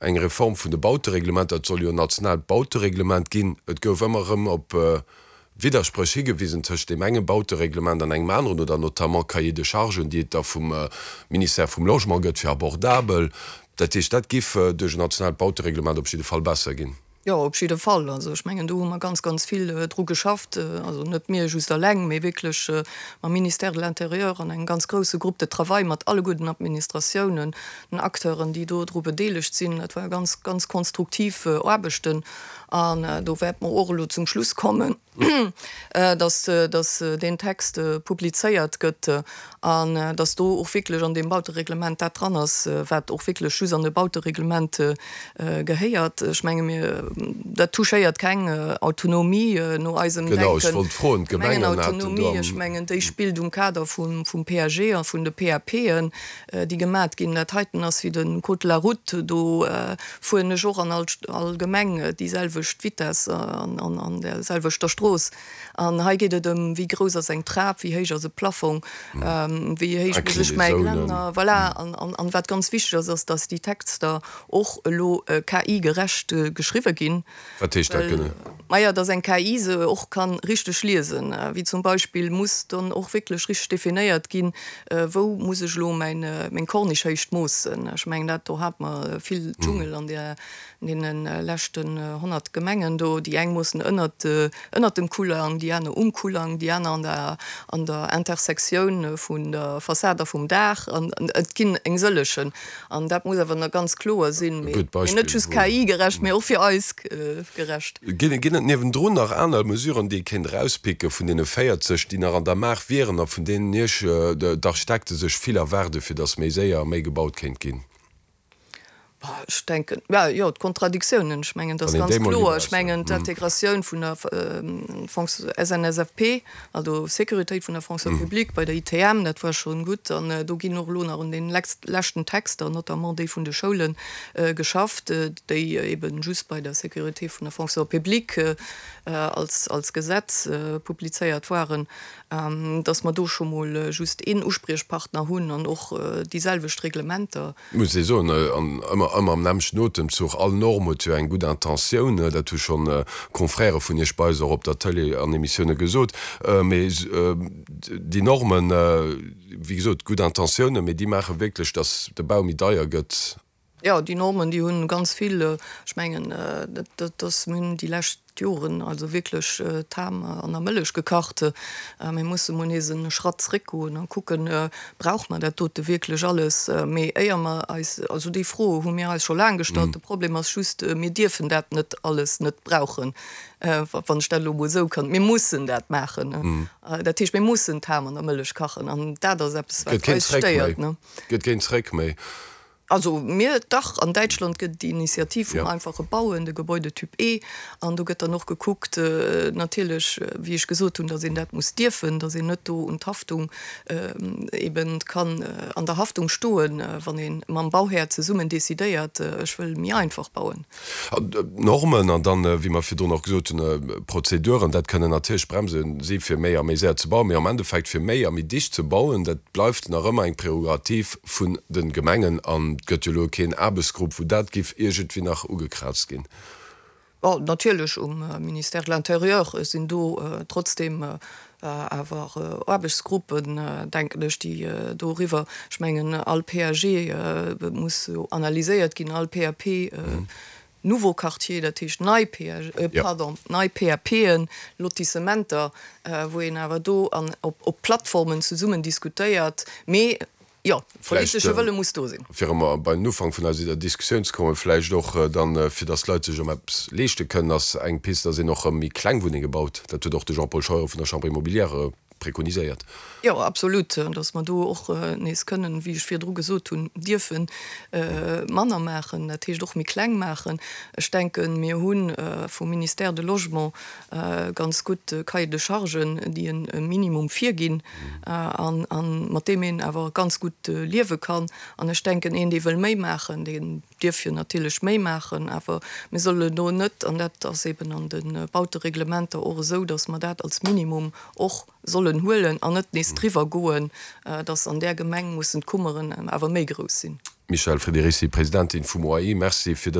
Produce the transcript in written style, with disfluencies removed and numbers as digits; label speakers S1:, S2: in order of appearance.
S1: Eng Reform vun de Bautereglementer, et soll jo en nationaalt Bautereglement ginn. Et gouf ëmmer erëm op Widderspréch higewisen tëscht deem enge Bautereglement an engem aneren, oder notamment Cahier de chargen, déi et da vum Ministère vum Logement gëtt fir abordabel. Dat heescht, dat giff duerch en nationaalt Bautereglement op jidde Fall besser ginn.
S2: Jo, op jidde Fall. Also ech mengen, do hu mer ganz, ganz vill dru geschafft. Also net mir just alleng, mee wierklech mam Ministère de l'Intérieur an engem ganz grouse Groupe de travail mat alleguer den Administratiounen, den Acteuren, déi do dru bedeelegt sinn. Dat ware ganz, ganz konstruktiv Aarbechten. An do wäerte mer och elo zum Schluss kommen, dass, dass deen Text publizéiert gëtt an dass do och wierklech an deem Bautereglement dat dran ass, wat och wierklech just an e Bautereglement gehéiert. Ech menge mir, dat touchéiert keng Autonomie no eisem Denken.
S1: Genau, ech wollt froen, d'Gemengen haten do am.
S2: D'Gemengenautonomie, ech mengen, déi spillt um Kader vum PAG a vun de PAPen, déi gemat ginn. Dat heiten ass wéi de Code de la route, do fueren ech och an all Gemeng déi selwecht Vitess an an där selwechter Strooss. An hei geet et ëm, wéi grouss ass eng Trap, wéi héich ass e Plafong, wéi héich muss ech mäi Geländer, voilà. An wat ganz wichteg ass, ass, dass déi Texter och elo KI-gerecht geschriwwe ginn.
S1: Wat heescht dat genee?
S2: Maja, dass eng KI se och kann richteg liesen. Wéi zum Beispill muss dann och wierklech richteg definéiert ginn, wou muss ech elo mäin, meng Corniche-Héicht moossen. Ech mengen, dat do hate mer vill Dschungel an där, an deene leschten 100 Gemengen do. Déi eng moossen ënnert, ënnert dem Kullang, déi aner um Kullang, déi aner an der, an der Intersektioun vun der Fassad a vum Daach. An et ginn eng sëllechen. An dat muss awer nach ganz kloer sinn,
S1: mee
S2: net just KI-gerecht, mee och fir eis gerecht.
S1: Ginn et niewendrun nach aner Mesuren, déi ee kéint erauspicke vun deene 40, déi nach an der Maach wieren a vun deenen Iech, d'Architekte, sech vill erwaarde fir datt méi séier a méi gebaut kéint ginn?
S2: Ech denken, jo, d'Kontradiktiounen, ech mengen, dat ass ganz kloer. Ech mengen, d'Integratioun vun der SNSFP, Also Sécuritéit vun der Fonction publique bei der ITM, dat war schonn gutt. An do ginn och elo nach un den leschten Texter, notamment déi vun de Schoulen, geschafft, déi eben just bei der Sécurité vun der Fonction publique als Gesetz publizéiert waren, dass mer do scho mol just een Uspriechpartner hunn an och déi selwecht Reglementer.
S1: Muss ee soen, an ëmmer, ëmmer am nämmlechten Otemzuch, all Norm huet jo eng gutt Intentioun, dat hu schonn Confrèrë vun Iech bei eis och op der Tëlee an Emissioune gesot, mee déi Normen, wéi gesot, gutt Intentiounen, mee déi maache wierklech, datt de Bau méi deier gëtt.
S2: Jo, déi Normen, déi hunn ganz vill, ech mengen, dat ass, mir hunn déi lescht Joren also wierklech d'Ham an der Mëllech gekacht. Mir musse mol nees e Schratt zréckgoen a kucken, Brauche mer dat dote wierklech alles? Mee éier mer eis, also déi Fro hu mir eis scho laang gestallt. De Problem ass just, mir dierfen dat net alles net brauchen, wann ech dat elo mol esou kann. Mir mussen dat maachen. Dat heescht, mir mussen d'Ham an der Mëllech kachen an dat ass eppes, wat eis stéiert.
S1: Gëtt keen Zréck méi.
S2: Also mir, dach, an Däitschland gëtt et déi Initiativ vum einfache Bauen, de Gebäudetyp E, an do gëtt dann och gekuckt, natierlech, wéi ech gesot hunn, datt een dat muss dierfen, datt een net do un d'Haftung eben kann an der Haftung stoen, wann ee mam Bauhär zesummen decidéiert, ech wëll méi einfach bauen.
S1: Normen an dann, wéi mer virdrun och gesot hunn, Prozeduren, dat kënnen natierlech Bremse si fir méi a méi séier ze bauen, mee am Endeffekt fir méi a méi dicht ze bauen, dat bleift nach ëmmer eng Prerogativ vun de Gemengen an et gëtt jo elo keen Aarbechtsgrupp, wou dat giff iergendwéi nach ugekraazt ginn.
S2: Bon, natierlech um Ministère de l'Intérieur sinn do trotzdem awer Aarbechtsgruppen, denken ech, déi doriwwer, ech mengen all PAG muss jo analyséiert ginn, all PAP, nouveau quartier, dat heescht nei PAG, pardon, nei PAPen, Lotissementer, wou een awer do an op Plattformen zesummen diskutéiert, mee Jo, politesche Wëlle muss do sinn.
S1: Fir erëm bei den Ufank vun eiser Diskussioun ze kommen, vläicht och dann, fir datt d'Leit sech erëm eppes leeschte kënnen, ass eng Pist, datt een och erëm méi kleng Wunnenge baut. Dat huet och de Jean-Paul Scheuren vun der Chambre immobilière prekoniséiert.
S2: Jo, absolut, datt mer do och nees kënnen, wéi ech virdru gesot hunn, dierfe manner maachen, dat heescht och méi kleng maachen. Ech denken, mir hu vum Ministère de Logement ganz gutt Cahiers de chargen, déi e Minimum virginn a mat deem een awer ganz gutt liewe kann. An ech denken, een, dee wëll méi maachen, deen dierf jo natierlech méi maachen, awer mir sollen do net, an dat ass eben an de Bautereglementer och esou, datt mer dat als Minimum och sollen huelen an net nees driwwer goen, datt an där Gemeng mussen d'Kummeren awer méi grouss sinn.
S1: Michèle Friederici, Presidentin vum OAI, Merci fir dës.